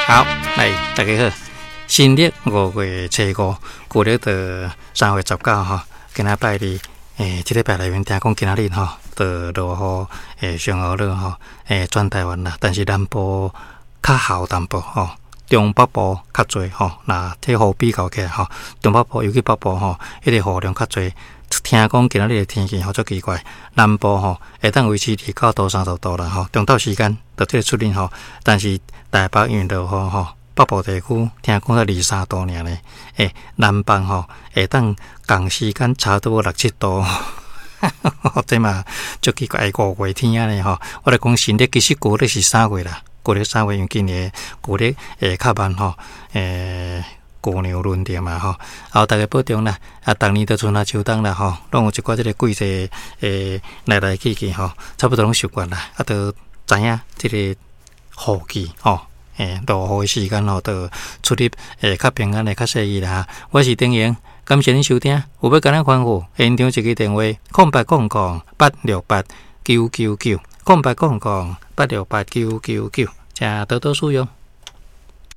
好，來大家好，新曆5月初5，舊曆就3月19吼，今仔拜二，這禮拜內面聽講今仔日吼，就落雨，上雨落吼，全台灣啦，但是南部較厚淡薄吼，中北部較濟吼，若這雨比較起來吼，中北部尤其北部吼，彼個雨量較濟。聽講今仔日的天氣吼足奇怪，南部吼會當維持29度、30度啦吼，中晝時間就這個出日吼，但是台北因為落雨吼，北部地區聽講才23度爾呢，南方吼會當仝時間差不多六七度，這嘛足奇怪，五月天按呢吼，我來講新曆其實舊曆是三月啦，舊曆三月因為今年舊曆會較慢吼，牛娘輪著嘛吼，好，大家保重啦！啊，逐年都春夏秋冬啦吼，攏有一寡這個季節來來去去吼，差不多攏習慣啦。啊，都知影這個雨季吼，落雨的時間吼，就出入會較平安，會較細意啦。我是丁瑩，感謝恁收聽，有欲共咱歡呼，現場一支電話：0800 868 999，0800 868 999，請多多使用。